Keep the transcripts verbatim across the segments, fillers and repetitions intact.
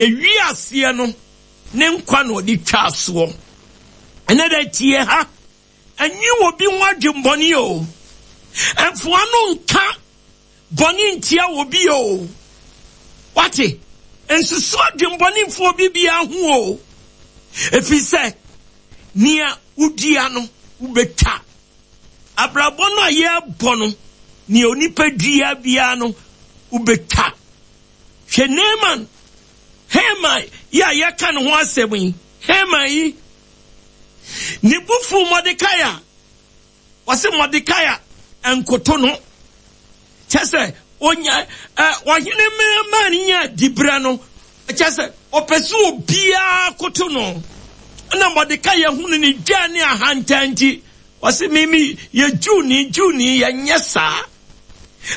Ewiaseɛ no ne nkwa na ɔde twaa soɔ. Ɛnɛ dɛ tie ha, ɛnyi obi ho adwembɔne o. Ɛmfoa no nka bɔne ntia obi o. Wate, nsusu adwembɔne mfa obi biara ho o. Ɛfiri sɛ, nea wodua no, wobɛtwa. Abrabɔ no a yɛrebɔ no, nea onipa dua biara no, wobɛtwa. Hwɛ Naaman, Haman yi a yɛka ne ho asɛm yi, Haman yi, ne bo fuu Mordekai a, ɔse Mordekai nkoto no. Kyɛ sɛ, onya, ɛ, ɔhene maa ne nya diberɛ no, kyɛ sɛ, ɔpɛ sɛ obiara koto no. Ɛna Mordekai hunu ne dwa ne ahantan nti, ɔse mimi yɛ Jewni, Jewni, yɛnyɛ saa.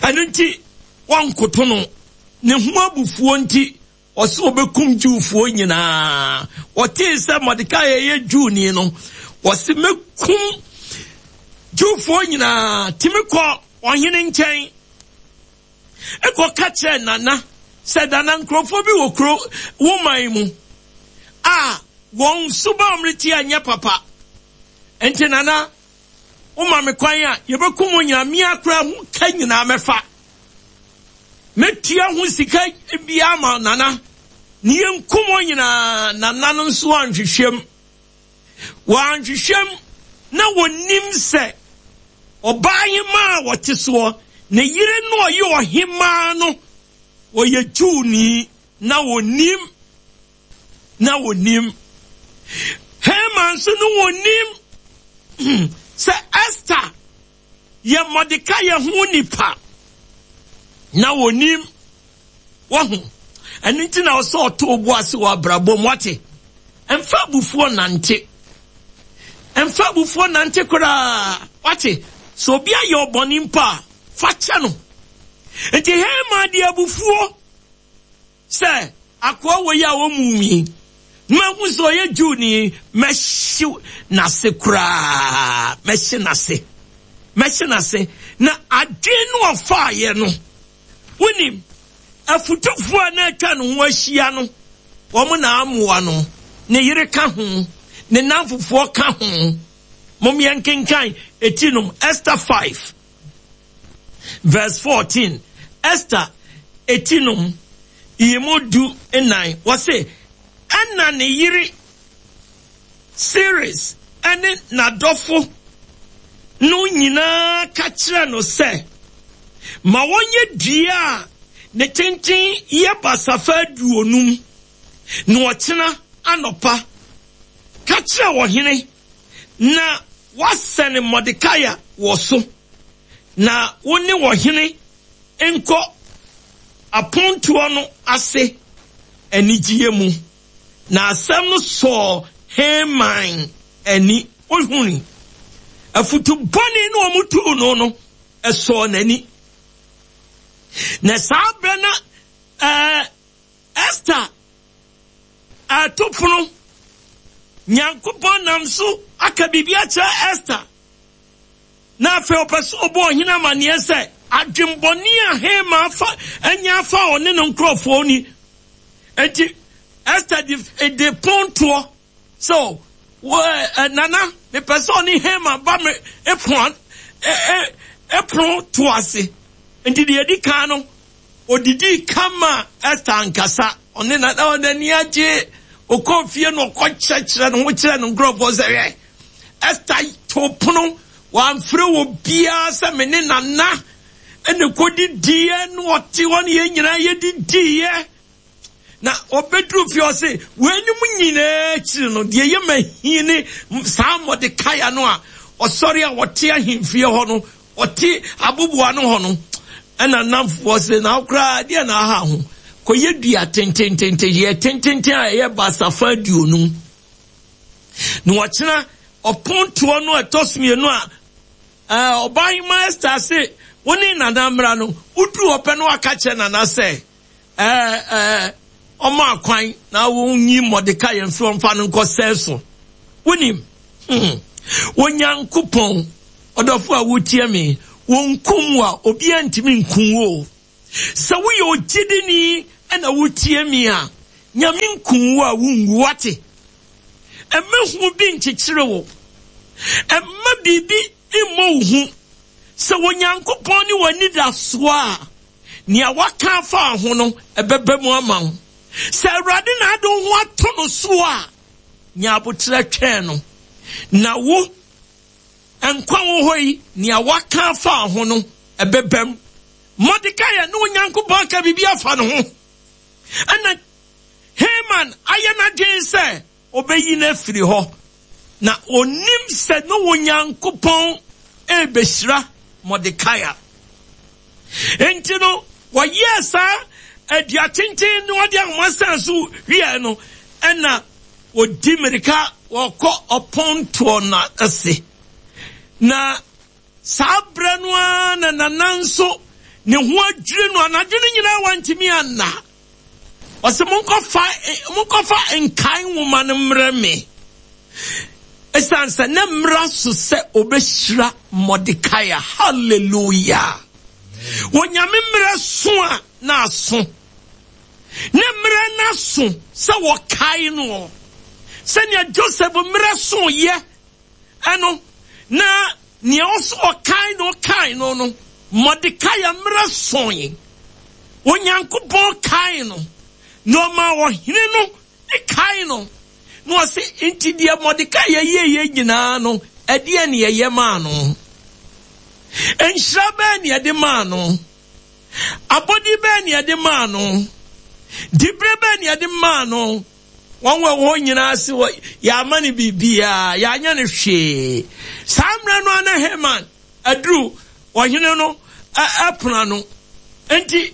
Ɛno nti, wɔnkoto no. Ne ho abufuo nti, ɔse ɔbɛkum Jewfoɔ nyinaa. Ɔtee sɛ Mordekai yɛ Jewni no, ɔse mɛkum Jewfoɔ nyinaa. Timi kɔ ɔhene nkyɛn. Ɛkɔ ka kyerɛ Nana sɛ Nana nkurɔfoɔ bi wɔ kuro wo man mu a wɔn suba a wɔde te anyɛ papa. Nti Nana, woma me kwan a yɛbɛkum wɔn nyinaa, mmea koraa ho ka nyinaa mɛfa. Mɛtua ho sika biara ma Nana. Ne yɛnkum wɔn nyinaa. Nana no nso anhwehwɛm. Wɔanhwehwɛm na wɔnim sɛ ɔbaa hemaa a wɔte soɔ, ne yere no ɔyɛ ɔhemaa no, ɔyɛ Jewni na wɔnim. Na wɔnim. Haman nso no wɔnim sɛ Esther yɛ Mordekai ho nipa. Na wɔnim. Wɔho. Ɛno nti na ɔsɛ ɔto obu ase wɔ abrabɔ mu, wate. Ɛmfa abufuo nante. Ɛmfa abufuo nante koraa, wate. Sɛ obi ayɛ ɔbɔne mpo a, fa kyɛ no. Nti Haman de abufuo sɛ akoa wɔ yi a wɔmu mi, mahu sɛ ɔyɛ Jewni, mɛhye n'ase koraa, mɛhye n'ase, mɛhye n'ase. Na adwene no ɔfaeɛ no, wonim, afutufoɔ a na atwa ne ho ahyia no, wɔn na amoa no, ne yere ka ho, ne namfofoɔ ka ho. Mom yɛnkenkan eti nom, Esther five, verse fourteen. Esther eti nom, yimu du nnan. Wɔse, ɛna ne yere Seres ɛne n'adɔfo no nyinaa ka kyerɛ no sɛ, ma wɔnyɛ dua a ne tenten yɛ basafa aduonum, na ɔkyena anɔpa ka kyerɛ ɔhene na wasɛne Mordekai wɔ so, na wo ne ɔhene nkɔ apontoɔ no ase anigyeɛ mu. Na asɛm no sɔɔ Haman ani. Ohuni afutu bɔne no ɔmo tuu no no, ɛsɔɔ n'ani. Na saa berɛ na, ɛɛ, Esther ɛto pono, Nyankopɔn nam so aka biribi akyerɛ Esther. Na afei ɔpɛ sɛ ɔbɔ ɔhene amanneɛ sɛ adwembɔne a Haman afa anya afa ɔne ne nkurɔfoɔ ni. Enti Esther de, de pontoɔ sɛ, wɔ, ɛ, Nana, mepɛ sɛ ɔne Haman ba me epono, ɛ, ɛ, epono to ase. Enti deɛ edi kan no, odidi kama Esther ankasa. Ɔne na, na ɔde ani agye. Ɔkɔɔ fie no, ɔkɔ kyerɛkyerɛ ne ho kyerɛ ne nkurɔfoɔ sɛ, hwɛ, Esther to pono, wamfrɛ wɔ biara sɛ me ne Nana ɛna kɔdidiiɛ, na ɔte hɔ ne yɛn nyinaa yɛdidiiɛ. Na ɔbɛduru fie ɔse, weinom nyinaa akyiri no, deɛ ɛyɛ mahi ne saa Mordekai no a ɔsɔre a ɔte ahemfie hɔ no, ɔte aboboa no hɔ no, ɛna namfoɔ se, na koraa deɛ na aha ho, kɔyɛ dua tententente, yɛ tententen a ɛyɛ basafa aduonum. Na ɔkyena ɔpontoɔ no ɛtɔ so mmienu a, ɛɛ, ɔbaa Esther se, wo ne Nana mmra no, woduru ɔpɛ no aka kyerɛ Nana sɛ, ɛɛ, ɛɛ, ɔmo akwan na wonyi Mordekai mfi ɔmfa no nkɔ sɛɛ so. Wonim, hmm, Onyankopɔn, ɔdɔfo a wotie me, wonkum wo a, obiara ntumi nkum wo. Sɛ woyɛ ogyidini ɛna wotie me a, Nyame nku wo a wungu wate. Ɛmma hu bi nkyekyere wo. Ɛmma biribi mmɔ wo hu. Sɛ Onyankopɔn ne w'anidasoɔ a, nea waka afa ho no, ɛbɛba mu ama wo. Sɛ Awurade na ade wo ho ato no so a, nya abotrɛ twɛn no. Na wo, nkwa wɔ hɔ yi, nea waka afa ho no, ɛbɛba mu. Mordekai ne Onyankopɔn aka biribi afa ne ho. Ɛna Haman ayɛ n'adwene sɛ ɔbɛyi no afiri hɔ. Na onim sɛ ne Onyankopɔn ɛrebɛhyira Mordekai. Enti no, wɔyɛɛ saa adua tenten na wɔde ahoma san so wieɛ no, ɛna wɔdi mmirika wɔkɔ ɔpɔntoɔ no ase. Na saa berɛ no ara na nana nso ne ho adwiri no, anadwo no nyinaa wantumi anna. Ɔsɛ monkɔfa monkɔfa nkae nwoma no mmerɛ me. Ɛsiane sɛ ne mmara so sɛ ɔbɛhyira Mordekai. Hallelujah. Onyame mmerɛ so a na aso. Ne mmerɛ n'aso sɛ wɔkae no. Sɛnea Joseph mmerɛ so yɛ ɛno na nea ɔso ɔkae no kae no no, Mordekai mmerɛ soe. Onyankopɔn kae no na ɔma ɔhene no kae no. Na ɔse nti deɛ Mordekai yɛyɛyɛ nyinaa no, ɛdeɛ ne yɛyɛ maa no. Nhyira bɛɛ ne yɛde maa no. Abɔde bɛɛ ne yɛde maa no. Dibere bɛɛ ne yɛde maa no. Wɔn wɔ hɔ nyinaa se wɔ yɛama no biribiara, yɛanyɛ no hwee. Saa mmerɛ no ara na Haman aduru ɔhene no ɛpono ano. Nti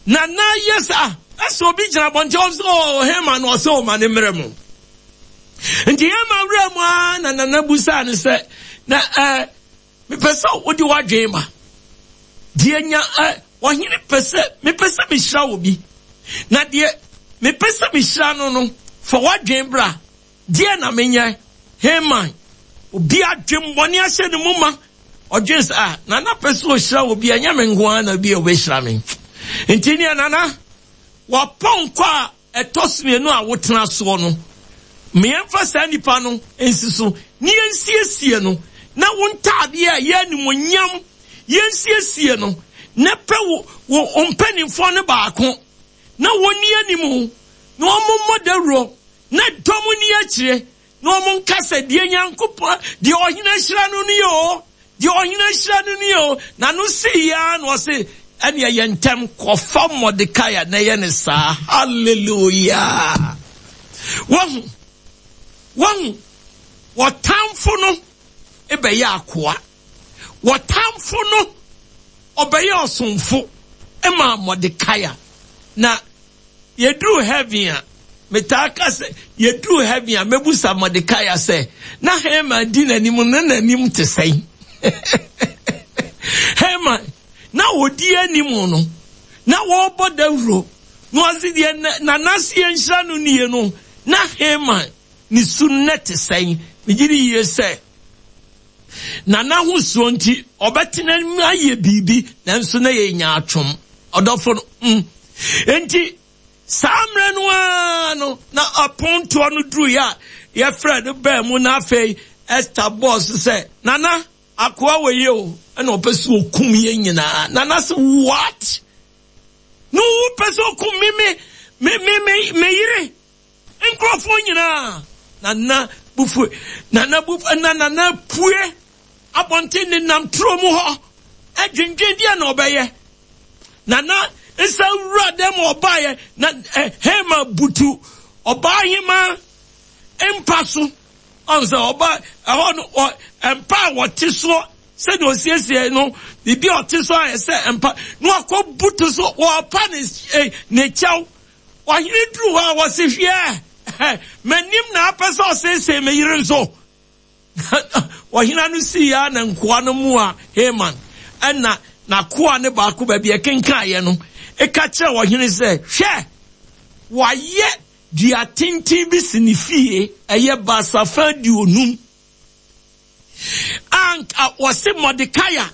nana yɛ sɛ ɛsɛ obi gyina abɔnten ɔsɛ ɔ Haman ɔsɛ ɔma ne mmerɛ mu. Nti Haman wura mu ara na nana busaa no sɛ na ɛɛ mepɛ sɛ wode w'adwene ma. Deɛ nya ɛ ɔhene pɛ sɛ mepɛ sɛ mehyira wo bi. Na deɛ mepɛ sɛ mehyira no no, fa w'adwene bra. Deɛ na menyɛ Haman, obi adwemmɔne ahyɛ ne mu ma. Ɔdwene sɛ ah nana pɛ sɛ ɔhyira obi, ɛnyɛ me nko ara na bi a ɔbɛhyira me. Nti nea nana wapɔnkɔ a ɛtɔ so mmienu a wotena soɔ no, mmeɛmfa saa nipa no nsi so ne yɛnsiesie no, na wo ntaadeɛ a ɛyɛ animuonyam yɛnsiesie no, na pɛ wo wo mpanimfoɔ no baako na wɔnni anim na wɔmmɔ dawuro na dɔm nni akyire na wɔn nka sɛ deɛ Nyankopɔn deɛ ɔhene ahyira no nie o, deɛ ɔhene ahyira no nie o. Na no si ya na ɔse ɛne ɛyɛ ntɛm kɔfa Mordekai na ɛyɛ ne saa. Hallelujah. Wɔhu wɔhu wɔtamfo no ɛbɛyɛ akoa. Wɔtamfo no ɔbɛyɛ ɔsomfo ɛma Mordekai. Na yɛduru heaven a, metaa ka sɛ yɛduru heaven a mɛbusa Mordekai sɛ na Haman di n'anim na n'anim te sɛn. Haman na odi anim no na wɔrebɔ dawuro na ɔse deɛ nanase yɛnhyira no nie no, na Haman ne su nnɛ te sɛn. Megye di yie sɛ nana ho suo nti ɔbɛtena mu ayɛ biribi, nanso na yɛnya atwom ɔdɔfo no. Mm. Nti saa mmerɛ no ara no na apontoɔ no duruiɛ a yɛfrɛ no baa mu, na afei Esther bɔɔ so sɛ nana akoa wɔ yie o, ɛna ɔpɛ sɛ ɔkum yɛn nyinaa. Nana sɛ what? No wopɛ sɛ ɔkum me me me me me me yere nkurɔfoɔ nyinaa. Nana bufu, nana bufu, na nana pue abɔnten ne nam turo mu hɔ ɛdwendwen deɛ na ɔbɛyɛ. Nana nsa wura dɛm ɔbaeɛ na Haman butu ɔbaa hema mpa so. Ɔn sɛ ɔba ɛhɔ no ɔ mpa a wɔte soɔ sɛdeɛ ɔsiesie no biribi a ɔte so ayɛ sɛ mpa na wakɔ butu so wɔpa ne ne kyɛw. Ɔhene duru hɔ a wɔsi hwɛ m'anim na apɛ sɛ ɔsiesie me yere nso. Ɔhene no si ya na nkoa no mu a Haman ɛna n'akoa ne baako baabi ɛkenkaeɛ no ɛka kyerɛ ɔhene sɛ hwɛ wayɛ dua tenten bi si ne fie ɛyɛ basafa aduonum anka wɔse Mordekai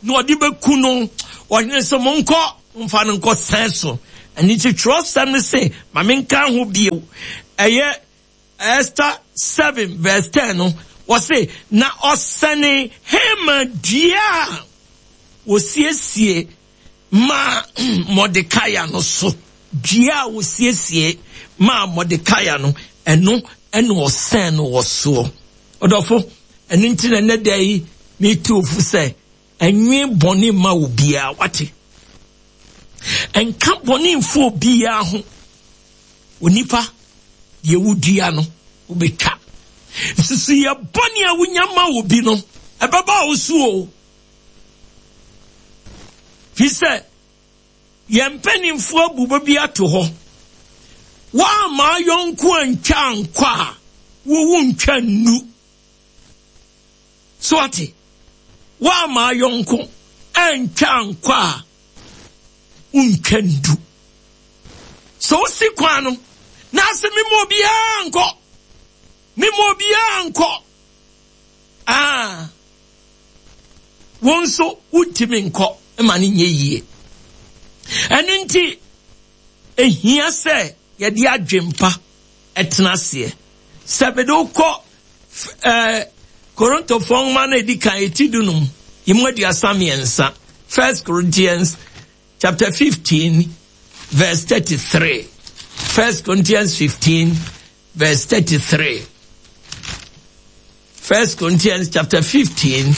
na ɔde bɛku no. Ɔhene sɛ monkɔ mfa no nkɔ sɛn so Ɛno nti twerɛsɛm no se, ma menka ho bio. Ɛyɛ Esther seven verse ten no, wɔse, na ɔsɛne Haman dua a wɔsiesie maa Mordecai no so. Dua a wɔsiesie maa Mordecai no, ɛno ɛna ɔsɛn no wɔ soɔ. Ɔdɔfo, ɛno nti na ɛnɛ da yi metu fo sɛ ɛnwe bɔne ma obiara, wate? Ɛnka bɔne mfo obiara ho. Onipa, deɛ wodua no, wobɛtwa. Nsusu yɛ bɔne a wonya ma obi no, ɛbɛba wo so o. Fi sɛ, yɛn mpanimfoɔ abu bɛ bi ato hɔ. Woamma yɔnko antwa ankɔ a, wowu ntwa nnu. So ate? Woamma yɔnko antwa ankɔ a, wontwa ndu. So wosi kwan no, na asɛ mema obiara nkɔ. Mema obiara nkɔ. Ah. Wo nso wontumi nkɔ ma no nyɛ yie. Ɛno nti, ehia sɛ yɛde adwempa ɛtena aseɛ. Sɛ mede wokɔ ɛɛ Korintofoɔ nwoma no edi kan eti dunum, emu aduasa mmiɛnsa. First Corinthians chapter fifteen verse thirty-three. First Corinthians fifteen verse thirty-three. First Corinthians chapter fifteen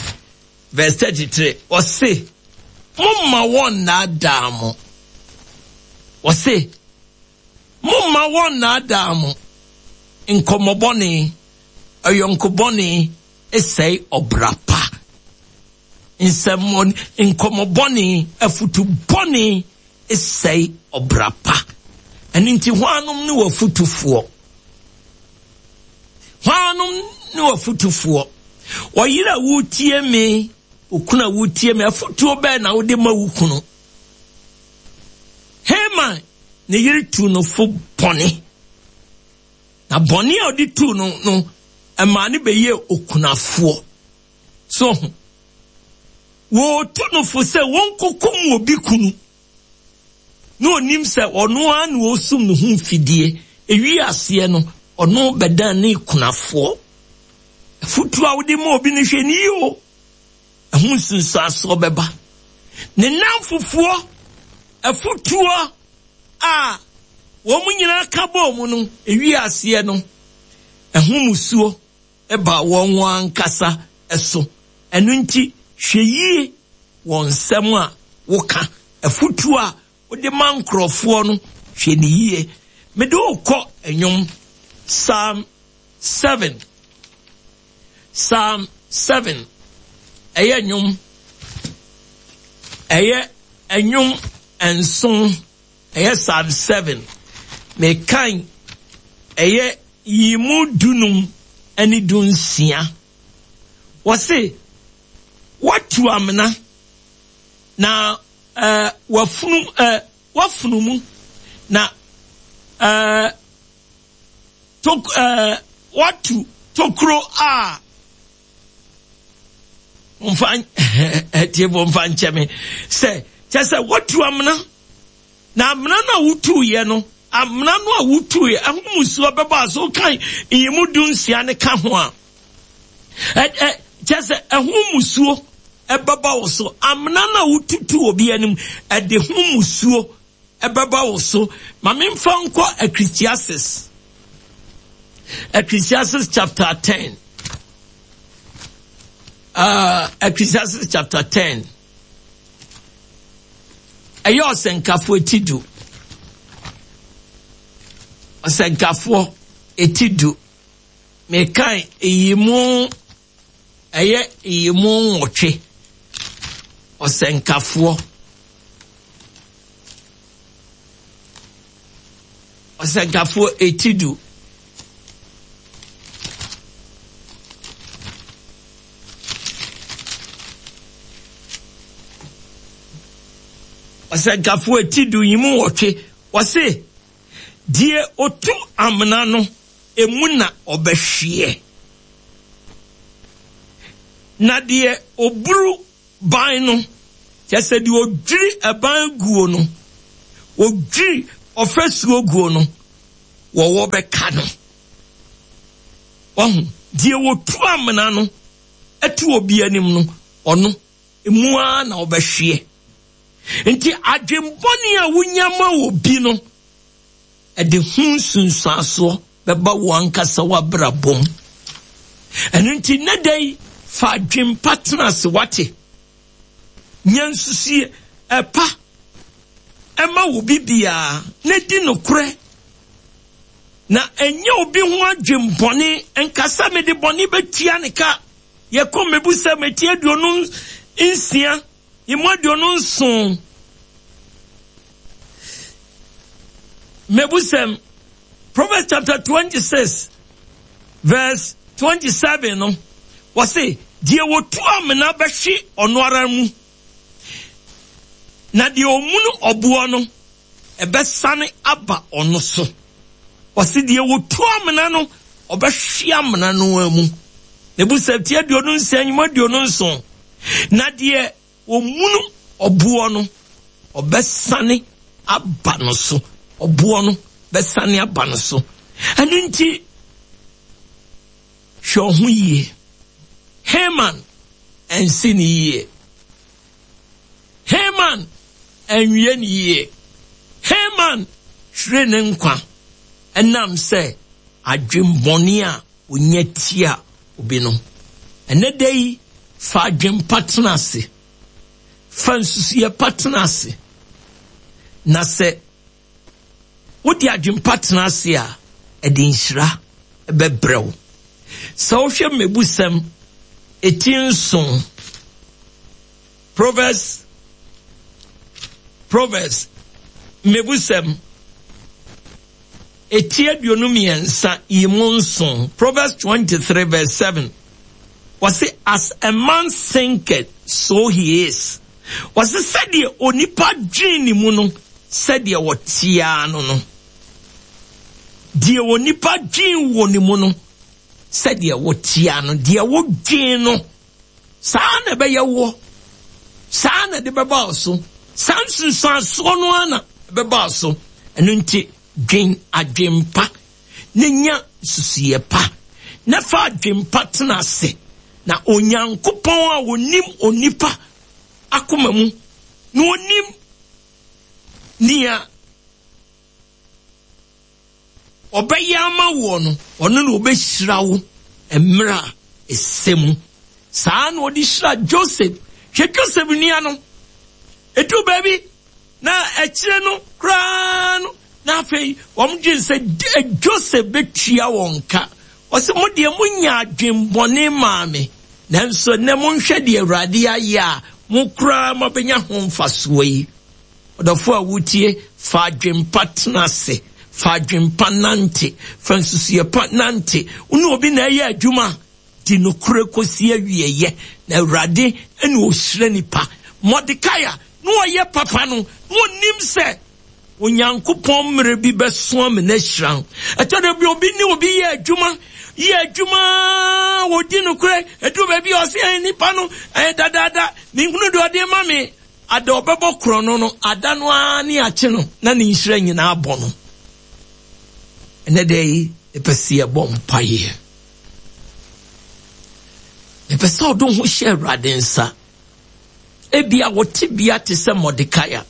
verse thirty-three. Ɔse, momma wɔn nnaadaa mo. Ɔse, momma wɔn nnaadaa mo. Nkɔmmɔbɔne, ɔyɔnkobɔne, ɛsɛe ɔbra pa. Nsɛmmɔne, nkɔmmɔbɔne, afutubɔne, ɛsɛe ɔbra pa. Ɛno nti, hwannom ne w'afutufoɔ? Hwannom ne w'afutufoɔ? Ɔyere a wotie me, okunu a wotie me, afutuo bɛn na wode ma wo kunu? Haman ne yere tu no fo bɔne. Na bɔne a ɔde tu no no, ɛmaa ne bɛyɛ okunafoɔ. So, wɔtu no fo sɛ wɔnkɔkum obi kunu. Na onim sɛ ɔno ara na ɔsum ne ho mfidie. Ewi aseɛ no, ɔno bɛdan ne kunafoɔ. Afutuo a wode ma obi no hwɛ ne yie o. Ɛho nsunsuansoɔ bɛba. Ne namfofoɔ, afutuo a wɔn nyinaa ka bɔɔ mu no, ewi aseɛ no, ɛho musuo ɛba wɔn ankasa ɛso. Ɛno nti, hwɛ yie wɔ nsɛm a woka. Afutuo a wode ma nkurɔfoɔ no, hwɛ ne yie. Mede wokɔ nnwom Psalm seven. Psalm seven. Ɛyɛ nnwom. Ɛyɛ nnwom nson. Ɛyɛ Psalm seven. Mekan ɛyɛ yimu dunum ɛne dunsia. Wɔse, watu amena na ɛɛ wafunu ɛɛ wafunu mu na ɛɛ tok ɛɛ watu tokuro a mfa ɛtie bɔ mfa nkyɛn mi sɛ kyɛ sɛ watu amena na amena no a wotu yɛ no, amena no a wotu yɛ ɛho musuo bɛbɔ a so kan nyimu dunsia ne ka ho a ɛ ɛ kyɛ sɛ ɛho musuo ɛbɛba wo so. Amena no a wotutu obi anim ɛde ho musuo ɛbɛba wo so. Ma memfa nkɔ Ecclesiastes. Ecclesiastes chapter ten. Uh, Ecclesiastes chapter ten. Ɛyɛ ɔsɛnkafoɔ eti du. Ɔsɛnkafoɔ eti du. Mekan eyi mu, ɛyɛ eyi mu nwɔtwe. Ɔsɛnkafoɔ. Ɔsɛnkafoɔ eti du. Ɔsɛnkafoɔ eti du yi mu nwɔtwe. Wɔse, deɛ otu amena no, emu na ɔbɛhweɛ. Na deɛ oburu ban no, kyerɛ sɛ deɛ odwiri ɛban guo no, Wɔdwiri ɔfasuo guo no, wɔwɔ bɛka no. Wahu, deɛ wɔtu amena no ɛto obi anim no, ɔno emu ara na ɔbɛhweɛ. Nti adwembɔne a wonya ma obi no, ɛde ho nsunsuansoɔ bɛba wo ankasa w'abrabɔ mu. Ɛno nti nnɛ da yi, fa adwempa tena ase, wate. Nya nsusuie ɛpa ɛma wo bibiara na di nokorɛ. Na ɛnyɛ obi ho adwembɔne nkasa mede bɔne bɛtua ne ka. Yɛkɔ Mmebusɛm eti aduonu nsia, emu aduonu nson. Mmebusɛm, Proverbs chapter twenty-six, verse twenty-seven no, wɔse, deɛ wɔtu amena bɛhwe ɔno ara mu, na deɛ ɔmunu ɔboɔ no, ɛbɛsane aba ɔno so. Wɔse, deɛ wɔtu amena no, ɔbɛhwe amena no mu. Mmebusɛm ti aduonu nsia, emu aduonu nson. Na deɛ ɔmunu ɔboɔ no, ɔbɛsane aba no so. Ɔboɔ no bɛsane aba no so. Ɛno nti, hwɛ wo ho yie. Haman ɛnsi ne yie. Haman ɛnwie ne yie. Haman hwere ne nkwa ɛnam sɛ adwembɔne a onya tia obi no. Ɛnɛ da yi, fa adwempa tena ase. Fa nsusuiɛ pa tena ase. Na sɛ wode adwempa tena ase a, ɛde nhyira ɛbɛbrɛ wo. Sɛ wohwɛ Mmebusɛm eti nson, Proverbs, Proverbs, Mmebusɛm eti aduonu mmiɛnsa yi mu nson, Proverbs twenty-three verse seven. Wɔse, as a man thinketh, so he is. Wɔse, sɛdeɛ onipa dwen ne mu no, sɛdeɛ wɔtea no no. Deɛ onipa dwen wɔ ne mu no, sɛdeɛ wɔtea no, deɛ wodwen no, saa na ɛbɛyɛ woɔ. Saa na ɛde bɛba wo so. Saa nsunsuansoɔ no ara na ɛbɛba wo so. Ɛno nti, dwen adwempa na nya nsusuiɛ pa. Na fa adwempa tena ase. Na Onyankopɔn a onim onipa akoma mu, na onim nea ɔbɛyɛ ama woɔ no, ɔno na ɔbɛhyira wo mmerɛ a ɛsɛ mu. Saa na ɔde hyira Joseph. Hwɛ Joseph nua no, ɛduru baabi na akyire no koraa no, na afei wɔn dwen sɛ Joseph bɛtua wɔn ka. Ɔsɛ mo deɛ monya adwembɔne maa me, nanso nnɛ monhwɛ deɛ Awurade ayɛ a mo koraa mobɛnya ho mfasoɔ yi. Ɔdɔfo a wotie, fa adwempa tena ase, fa adwempa nante, fa nsusuiɛ pa nante. Wo ne obi na ɛyɛ adwuma, di nokorɛ kɔsi awieeɛ, na Awurade ne ɔhyira nipa. Mordekai a na ɔyɛ papa no, na ɔnim sɛ Onyankopɔn mmerɛ bi bɛso ama no ahyira no. Ɛtɔ da bi obi ne obi yɛ adwuma, yɛ adwuma, wɔdi nokorɛ, ɛduru baabi a ɔse, ɛyɛ nipa no, ɛyɛ dadaada, menhunu deɛ ɔde ma me. Ada ɔbɛbɔ korɔ no no, ada no ara ne akye no, na ne nhyira nyinaa bɔ no. Ɛnɛ da yi, mepɛ sɛ yɛbɔ mpaeɛ. Mepɛ sɛ ɔde ho hyɛ Awurade nsa. Ebia wɔte bia te sɛ Mordekai a.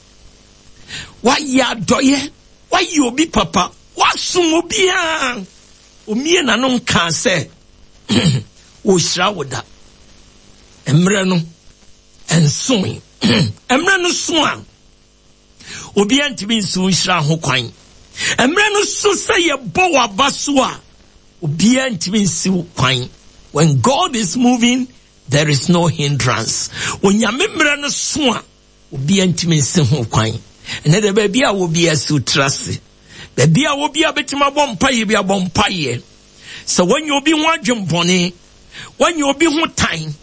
Wayɛ adɔyɛ, wayɛ obi papa, wasom obiara. Omie n'ano nkaa sɛ, wɔhyira wo da. Mmerɛ no, ɛnsoe. Mmerɛ no so a, obiara ntumi nsi wo nhyira ho kwan. Mmerɛ no so sɛ yɛbɔ w'aba so a, obiara ntumi nsi wo kwan. When God is moving, there is no hindrance. Onyame mmerɛ no so a, obiara ntumi nsi ho kwan. Ɛnɛ de baabi a obiara si wo tiri ase, baabi a obiara bɛtumi abɔ mpaeɛ bi abɔ mpaeɛ. Sɛ wɔnyɛ obi ho adwembɔne, wɔnyɛ obi ho tan,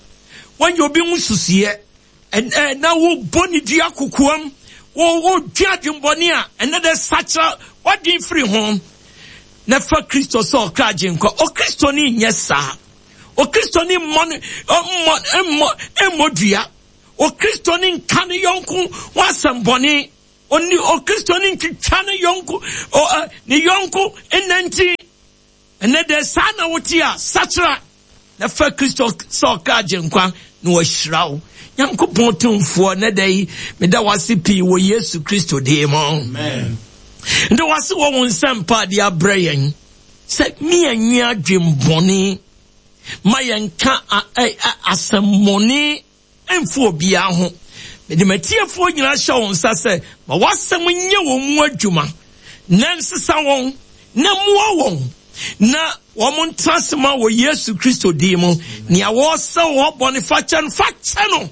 wɔnyɛ obi ho susuiɛ, ɛnɛ na wobɔ ne dua kokoam, wodwe adwembɔne a, ɛnɛ de sakyera wadwen firi ho. Na fa Kristo sɛ ɔkra agyenkwa. Okristoni nyɛ saa. Okristoni mmɔ mmɔ mmɔ mmɔ dua. Okristoni nka ne yɔnko ho asɛm bɔne. Ɔni Okristoni ntwitwa ne yɔnko ɔ ɛ ne yɔnko nnanti. Ɛnɛ dɛ saa na wote a, sakyera na fa Kristo sɛ ɔkra agyenkwa na wahyira wo. Nyankopɔn tumfoɔ, nɛ da yi meda wase pii wɔ Yesu Kristo din mu. Meda wase wɔ wo nsɛmpa a de abrɛ yɛn sɛ mianwi adwembɔne ma yɛnka asɛmmɔne mfa obiara ho. Mede m'atiefoɔ nyinaa hyɛ wo nsa sɛ ma w'asɛm nyɛ wɔn mu adwuma na nsesa wɔn na mmoa wɔn na wɔn ntena ase ma wɔ Yesu Kristo din mu. Nea wɔresɛ wɔ bɔne fakyɛ no, fakyɛ no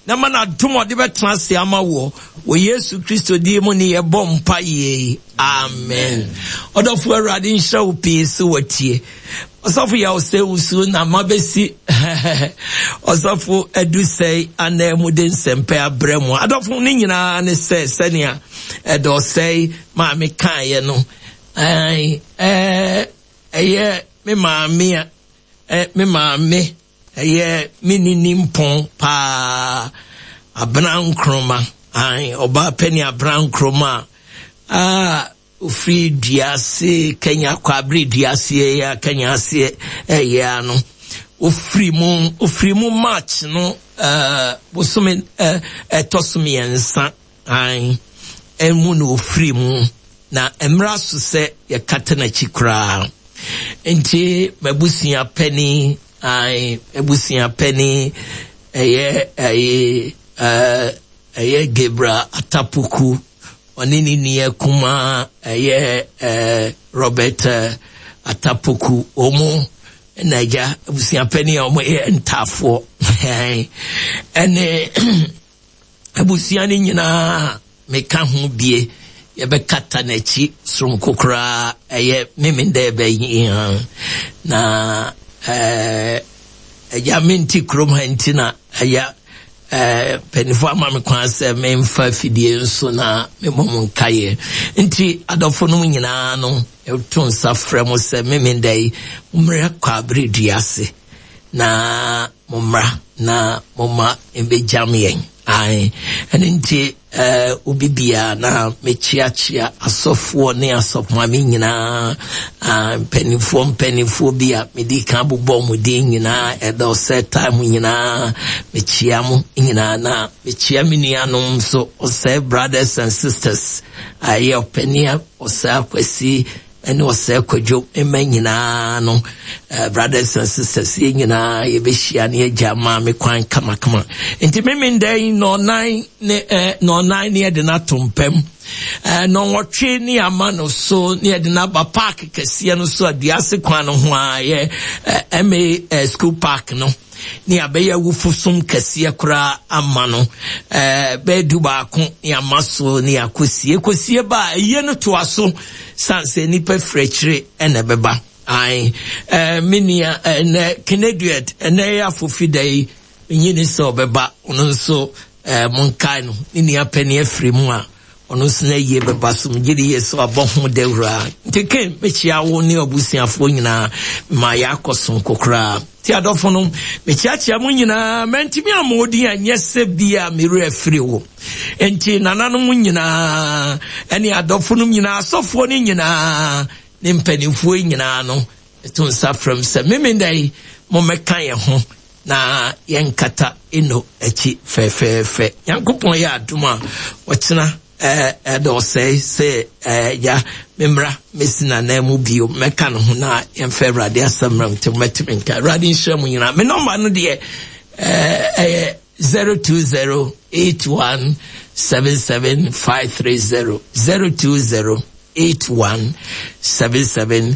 na ma n'adom ɔde bɛtena ase ama wɔ wɔ Yesu Kristo din mu ne yɛbɔ mpa yie. Amen. Ɔdɔfo, Awurade nhyira wo pii so watie. Ɔsɔfo yɛ ɔsɛ wusu na mabɛsi ɔsɔfo Adusɛe anan mu de nsɛmpɛ abrɛ mu. Adɔfo no nyinaa ne sɛ sɛnea ɛdɔ ɔsɛe maame kaeɛ no, ɛyɛ me maame a me maame ɛyɛ me nini mpɔn paa, Abena Nkroma, ɔbaa pɛni Abena Nkroma a ofiri duase Kenya kwabere duase ya Kenya ase ɛyɛ ano. Ofiri mu ofiri mu March no ɛɛ bosome ɛɛ ɛtɔ so mmiɛnsa ayi ɛmu na ofiri mu, na mmerɛ so sɛ yɛkata n'akyi koraa. Nti m'abusua panyin ayi abusua panyin ɛyɛ ɛyɛ ɛɛ ɛyɛ Gabriel Atapuku, ɔne ne nua kumaa ɛyɛ ɛɛ Robert Atapuku, wɔn na agya abusua panyin a wɔn yɛ ntaafoɔ ɛne abusua no nyinaa meka ho bie. Yɛbɛkata n'akyi soronko koraa, ɛyɛ mímí dɛ ɛbɛyi na ɛɛ ɛgya menti kurom ha nti na ɛyɛ ɛɛ mpanyinfoɔ ama me kwan sɛ memfa fidie nso na memmɔ mo nkaeɛ. Nti adɔfo no nyinaa no, ɛto nsa frɛ mo sɛ mímí dɛ yi mommrɛ kɔ abere dua ase na mommra na momma mbɛgyam yɛn. Ae, ɛno nti ɛɛ obi bia na mekyiakyia asɔfoɔ ne asɔfomame nyinaa, mpanimfoɔ mpanimfoɔ bi a medi kan bobɔ mo din nyinaa, ɛdɔ ɔsɛ time nyinaa mekyia mo nyinaa, na mekyia me nuanom nso, ɔsɛ brothers and sisters, ayɛ ɔpani ɔsɛ Akwasi ɛne ɔsɛ Kwadwo mma nyinaa no, uh, brothers and sisters, yɛn nyinaa yɛbɛhyia ne yɛgya maame kwan kamakama. Nti meme ndɛ yi nɔɔnan ne eh, nɔɔnan ne yɛde no ato mpam, eh, nɔnwɔtwe ne ama no so ne yɛde no aba park kɛseɛ no so, aduase kwan no ho a yɛ eh, ma eh, school park no, ne abɛyɛ awufo som kɛseɛ koraa ama no ɛɛ bɛyɛ du baako ne ama so ne akɔsie kɔsie ba a ɛyie no toa so san sɛ nipa firi akyire ɛna ɛbɛba. Ae, ɛɛ me nua ɛnɛ Keneduet ɛnɛ yɛ afofi da yi menyi ne sɛ ɔbɛba, ɔno nso ɛɛ monkae no, ne nua panyin afiri mu a ɔno nso na yie bɛba so, megye di yie sɛ wabɔ ho dawura. Nti ken mekyia wo ne abusuafoɔ nyinaa ma yɛakɔ so kokoraa. Ti adɔfo no mekyiakyia mo nyinaa, mantumi amma odin a nyɛ sɛ bi a mewerɛ afiri wo. Nti nananom nyinaa ɛne adɔfo no nyinaa, asɔfoɔ no nyinaa ne mpanimfoɔ nyinaa no, ɛto nsa frɛm sɛ memenda yi mommɛka yɛn ho na yɛnkata eno akyi fɛfɛɛfɛ. Nyankopɔn yɛ adom a ɔkyena ɛdɔ ɔsɛe sɛ ya memmra mesi nanan mu bio mɛka no ho na yɛmfa Awurade asɛm mmra nti mɛtumi nka. Awurade nhyira mu nyinaa. Me nɔmba no deɛ ɛyɛ zero two zero eight one seven seven five three zero, zero two zero eight one seven seven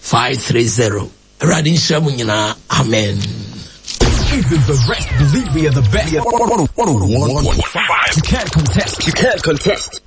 five three zero. Awurade nhyira mu nyinaa. Amen. Even the rest believe we are the best. one oh one point five. You can't contest. You can't contest.